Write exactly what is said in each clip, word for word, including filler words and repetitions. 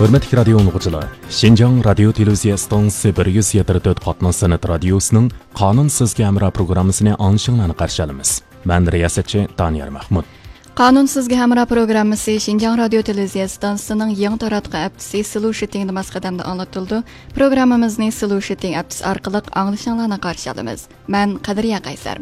ھۆرمەتلىك رادىيو ئاڭلىغۇچىلار، شىنجاڭ رادىيو تېلېۋىزىيە ئىستانسىسى بىر يۈز يەتتە تۆت قاتناش سەنئەت رادىيوسىنىڭ قانۇن سىزگە ھەمراھ پروگراممىسىنى ئاڭلىشىڭلارنى قارشى ئالىمىز. مەن رىياسەتچى دانىيار مەھمۇت. قانۇن سىزگە ھەمراھ پروگراممىسى شىنجاڭ رادىيو تېلېۋىزىيە ئىستانسىسىنىڭ يېڭى تاراتقۇ ھەپتىسى سلوشىتىڭدا ماس قەدەمدە ئاڭلىتىلىدۇ. پروگراممىمىزنى سلوشىتىڭ ھەپتىسى ئارقىلىق ئاڭلىشىڭلارنى قارشى ئالىمىز. مەن قەدرىيە قەيسەر.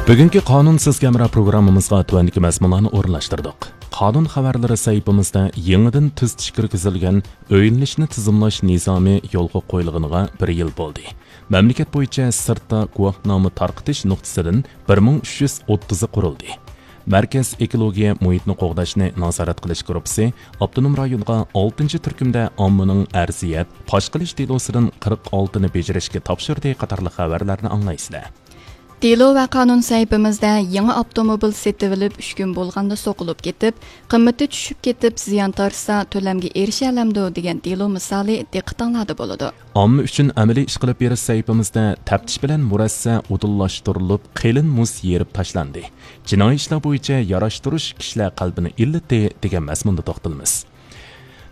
بۈگۈنكى قانۇن سىزگە ھەمراھ پروگراممىمىزغا تۆۋەندىكى مەزمۇنلارنى ئورۇنلاشتۇردۇق. قانۇن خەۋەرلىرى سەھىپىمىزدە يېڭىدىن تۈزىتىشكە كىرگۈزۈلگەن ئۆيلىنىشنى تىزىملاش نىزامى يولغا قويۇلغىنىغا بىر يىل بولدى. مەملىكەت بويىچە سىرتتا گۇۋاھنامە تارقىتىش نۇقتىسىدىن بىر مىڭ ئۈچ يۈز ئوتتۇزى قۇرۇلدى. مەركەز ئېكولوگىيە مۇھىتنى قوغداشنى نازارەت قىلىش گۇرۇپپىسى ئاپتونوم رايونغا ئالتىنچى تۈركۈمدە ئاممىنىڭ ئەرزىيەت پاش قىلىش دېلوسىدىن قىرىق ئالتىنى بېجىرىشكە تاپشۇردى قاتارلىق خەۋەرلەرنى ئاڭلايسىلەر. دېلو ۋە قانۇن سەھىپىمىزدە يېڭى ئاپتوموبىل سېتىۋېلىپ ئۈچ كۈن بولغاندا سوقۇلۇپ كېتىپ، قىممىتى چۈشۈپ كېتىپ زىيان تارتسا تۆلەمگە ئېرىشەلەمدۇ دېگەن دېلو مىسالى دىققىتىڭلاردا بولىدۇ. ئامما ئۈچۈن ئەمەلىي ئىش قىلىپ بېرىش سەھىپىمىزدە تەپتىش بىلەن مۇرەسسە ئۇدۇللاشتۇرۇلۇپ، قېلىن مۇز يېرىپ تاشلاندى. جىنايى ئىشلار بويىچە ياراشتۇرۇش كىشىلەر قەلبىنى ئىللىتتى دېگەن مەزمۇندا توختىلىمىز.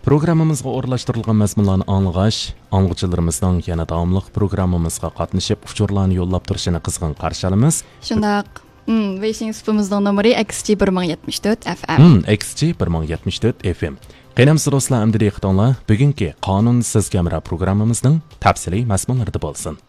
پروگراممىمىزغا ئورۇنلاشتۇرۇلغان مەزمۇنلارنى ئاڭلىغاچ، ئاڭلىغۇچىلىرىمىزنىڭ يەنە داۋاملىق پروگراممىمىزغا قاتنىشىپ، ئۇچۇرلارنى يوللاپ تۇرۇشىنى قىزغىن قارشى ئالىمىز. شۇنداق. ھىم، ۋېيشىڭ سۇپىمىزنىڭ نومۇرى ئېكس جى بىر مىڭ يەتمىش تۆت ئەف ئەم. ھىم، ئېكس جى بىر مىڭ يەتمىش تۆت ئەف ئەم. قېنى ئەمىسە دوستلار، ئەمدى دىققىتىڭلار بۈگۈنكى قانۇن سىزگە ھەمراھ پروگراممىمىزنىڭ تەپسىلىي مەزمۇنلىرىدا بولسۇن.